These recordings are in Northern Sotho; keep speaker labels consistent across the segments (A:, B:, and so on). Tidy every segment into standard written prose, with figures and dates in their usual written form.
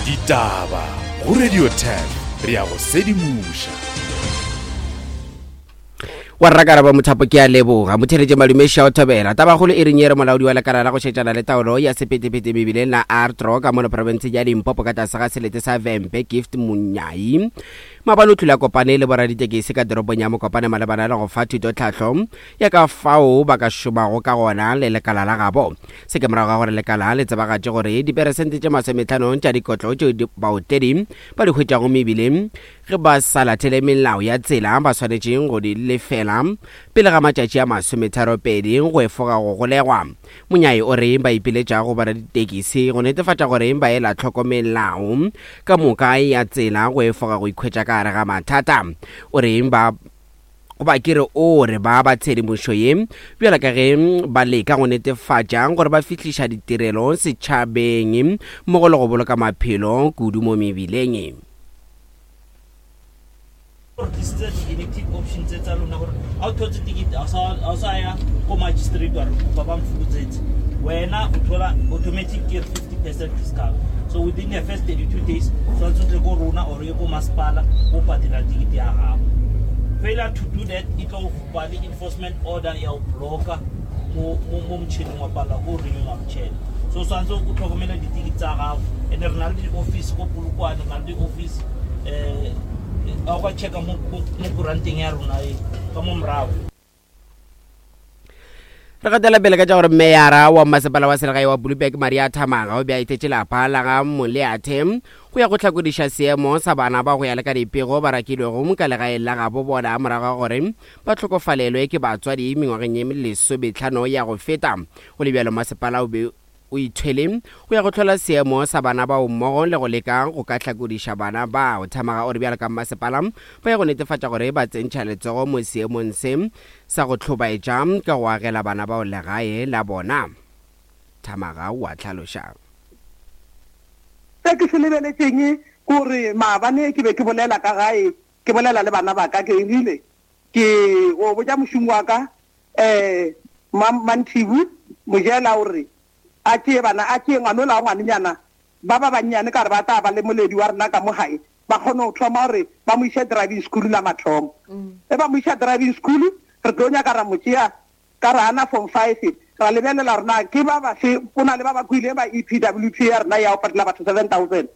A: Ditaba go Radio 10 re a go sedimoša.
B: Wa rrakarabo Mothapo ke a leboga. Motheletše Malume Shao Thobela. Tabakgolo e reng ye re molaodi wa lekala la go šetšana le taolo ya sephethephethe mebileng la Artro ka mono profenseng ya Limpopo ka tlase ga selete sa Vhembe Gift Munyai maabane o tlile a kopane le boraditekesi ka toropong ya Mokopane malebana le go fa thutotlhahlo ya ka fao ba ka šomago ka gona le lekala la gabo. Se ke morago ga gore lekala le tsebagatše gore diperesente tše masometlhano tša dikotlo tšeo baotledi ba di hwetšago mebileng Ge ba sa latele melao ya tsela, ba swanetše go di lefela pele ga matšatši a masometharopedi go efoga go golegwa. Monyai o re ba ipiletša go boraditekisi go netefatša gore ba ela hloko melao ka moka ya tsela go efoga go ikhwetša ka gare ga mathata. O re ba goba ke re o re ba ba tshedimošo ye bjalo ka ge ba leka go netefatša gore ba fihliša ditirelo setšhabeng mmogo le go boloka maphelo kudu mo mebileng.
C: Re tlisitse di-inactive option tse tsa lona gore ga o thotse ticket ga o sa ya ko magistrate wa re kopa ba mfokotsetse wena o thola automatic ke 50 percent discount so within the first 32 days tshwanetse o tle ko rona or ye ko masepala o patela ticket ya gago failure to do that e tlo ba le enforcement order ya o blocka mo motšhineng wa palela ko renewa motšhene so tshwanetse o tlhokomele ditikiti tsa gago and re na le di-office ko polokwane re na le di-office um a o ka checka mo kuranteng ya rona e ka mo morago.
B: Re gatela pele ka tša gore meyara wa mmasepala wa selegae wa Blouberg Maria Thamaga o be a etetše lapa la ga Moleathe go ya go hlakodiša seemo sa bana ba go ya le ka dipego ba rakilwego ka legaeng la gabo bona morago ga gore ba hlokofalelwe ke batswadi mengwageng ye lesometlhano ya go feta. Go le bjalo masepala o be o ithwele go ya go hlola seemo sa bana bao mmogo le go leka go ka hlakodiša bana bao. Thamaga o re bjalo ka mmasepala ba ya go netefatša gore ba tsentšha letsogo mo seemong se sa go hlobaetša ka go agela bana bao legae la bona. Thamaga o a hlaloša.
D: Se ke se lebeletšeng ke gore maabane ke be ke bolela ka gae, ke bolela le bana ba ka, ke rile ke go botša mošomi wa ka um Manthibu Mojela o re a tšee bana, a tšee ngwanola wa ngwanenyana ba ba bannyane ka gore ba tla ba le moledi wa rena ka mo gae, ba kgone go thoma gore ba mo iše driving school la mathomo. Ge ba mo iša driving school, re tlo nyaka ra mo tšea ka re ana form five, ra lebelela gore na ke ba bafe, go na le ba ba kwileng ba EPWP ya rena ya go patela batho 7000.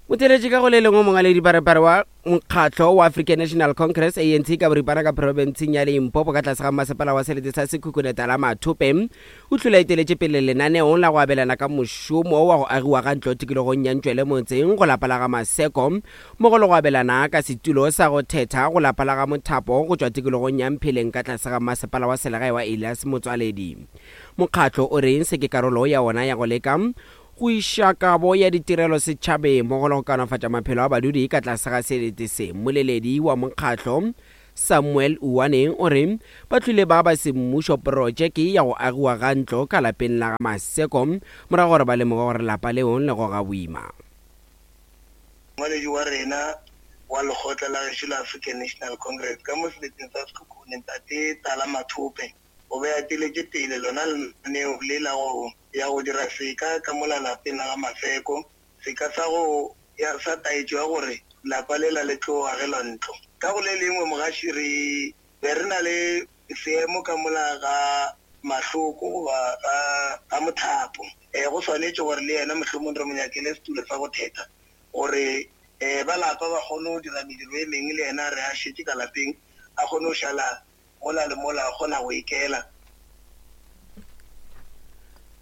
B: Motheeletši ka go le lengwe mongwaledi parepare wa mokgatlo wa African National Congress ANC ka boripana ka profenseng ya Limpopo ka tlase ga mmasepala wa selete sa Sekhukhune Tala Mathope o hlile a eteletše pele lenaneo la go abelana ka mošomo wa go agiwa ga ntlo tikologong ya Ntšwele motseng go lapa la ga Maseko mmogo le go abelana ka setulo sa go thetha go lapa la ga Mothapo go tšwa tikologong ya Mpheleng ka tlase ga mmasepala wa selegae wa Elias Motswaledi. Mokgatlo o re se ke karolo ya wona ya go leka Go iša kabo ya ditirelo setšhabeng mmogo le go kaonafatša maphelo a badudi ka tlase ga selete se. Mmoleledi wa mokgatlo, Samuel Uwane o re ba hlwile ba ba semmušo protšeke ya go agiwa ga ntlo ka lapeng la ga Maseko morago gore ba lemoge gore lapa leo le goga boima.
E: Mongwaledi wa rena wa lekgotla la gešo la African National Congress ka mo seleteng sa Sekhukhune, Ntate Tala Mathope, o be a eteletše pele lona lenaneo le la go ya go dira seka ka mola lapeng la ga Maseko, seka sa go ya sa taetšo ya gore lapa lela le tlo agelwa ntlo. Ka go le lengwe mogaši re be re na le seemo ka mola ga Mahloko goba ga ga Mothapo. E, go swanetše gore le yena mohlomong re mo nyakele setulo sa go thetha gore e, ba lapa ba kgone go dira mediro e mengwe le yena re a šetše ka lapeng a kgone go šala mola le mola a kgona go ikela.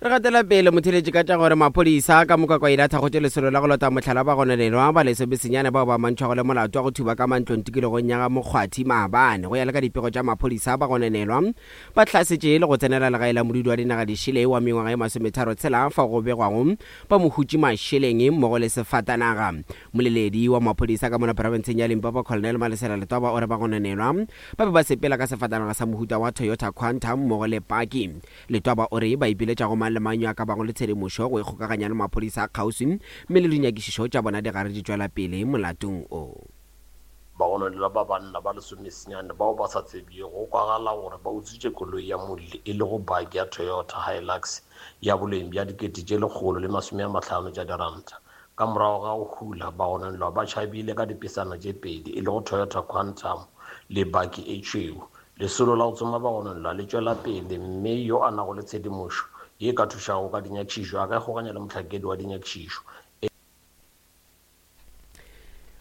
B: Re gatela pele motheletši ka tša gore maphodisa ka moka kwa ile a thakgotše lesolo la go lota mohlala ba gononelwa ba lesomesenyane bao ba amantšhwago le molato wa go thuba ka mantlong tikologong ya ga Mokgwathi maabane. Go ya le ka dipego tša maphodisa, ba gononelwa ba hlasetše le go tsenela legae la modudi wa dinaga dišele wa mengwaga e masometharo tshela fao go begwago ba mo hutše mašeleng mmogo le sefatanaga. Moleledi wa maphodisa ka mola profenseng ya Limpopo Colonel Malesela Letwaba o re ba gononelwa Ba be ba sepela ka sefatanaga sa mohuta wa Toyota Quantum mmogo le paki. Letwaba o re ba ipiletša go mang le mang yo a ka bago le tshedimošo go ikgokaganya le maphodisa a kgauswi mme le dinyakišišo tša bona di gare di tšwela pele molatong o.
F: Bagononelwa ba banna ba lesomesenyane bao ba sa tsebjego go kwagala gore ba utswitše koloi ya molli e lego baki ya Toyota Hilux ya boleng bja 150 tša diranta. Ka morago ga go hula, bagononelwa ba tšhabile ka dipesana tše pedi e lego Toyota Quantum le baki e tšhweu. Lesolo la go tsoma bagononelwa le tšwela pele mme yo a nago le tshedimošo ye e ka thušago ka dinyakišišo a ka ikgokanya le mohlankedi wa dinyakišišo e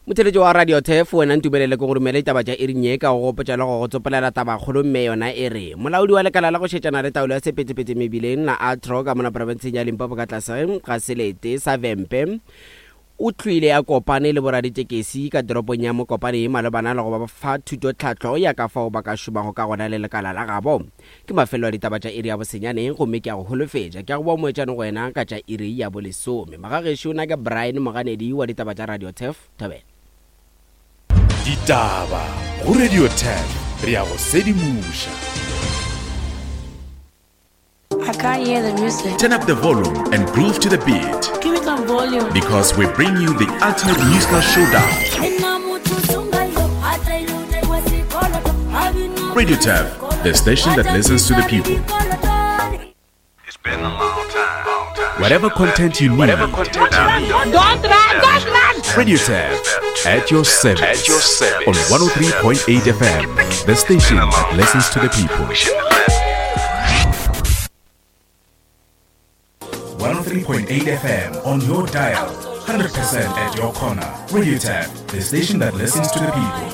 B: Motheletši wa Radio Turf, wena ntumelele ke go romele ditaba tša iring ye ka go gopotša le go go tsopolela tabakgolo mme yona e re molaodi wa lekala la go šetšana le taolo ya sephethephethe mebileng la Atro ka mona profenseng ya Limpopo ka tlase ga selete sa Vhembe o hlwile a kopane le boraditekesi ka toropong ya Mokopane malebana le go ba fa thutotlhahlo ya ka fao ba ka šomago ka gona le lekala la gabo. Ke mafelelo a ditaba tša iri ya bosenyane, gomme ke a go holofetša, ke a go boa moetšane go wena ka tša iri ya bolesome. Magagešo, na ke Brian Moganedi wa ditaba tša Radio Turf. Thobela.
A: Ditaba go Radio Turf, re a go sedimoša.
G: I can't hear the music.
H: Turn up the volume and groove to the beat.
G: Give me some volume.
H: Because we bring you the ultimate musical showdown. Radio Tab, the station that listens to the people. Whatever content you need.
I: Don't run, don't run!
H: Radio Tab, at your service.
J: At your service.
H: On 103.8 FM, the station that listens to the people. 103.8 FM on your dial. 100% at your corner. Radio Tab, the station that listens to the people.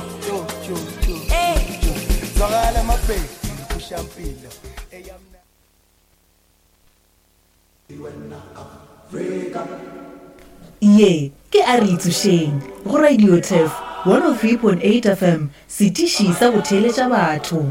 K: Ye ke A Re Itsošeng go Radio Turf 103.8 FM, setiši sa go theeletša batho.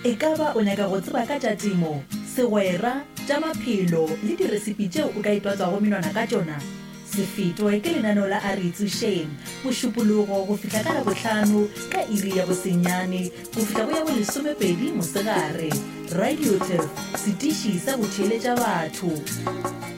K: Ekaba o nyaka go tseba ka tša temo, segwera, tša maphelo le diresipi tšeo o ka itwatswago menwana ka tšona? Se fetwe ke lenaneo la A Re Itsošeng, Mošupologo go fihla ka Labohlano ka iri ya bosenyane go fihla go ya bolesomepedi mosegare. Radio Turf, setiši sa go theeletša batho.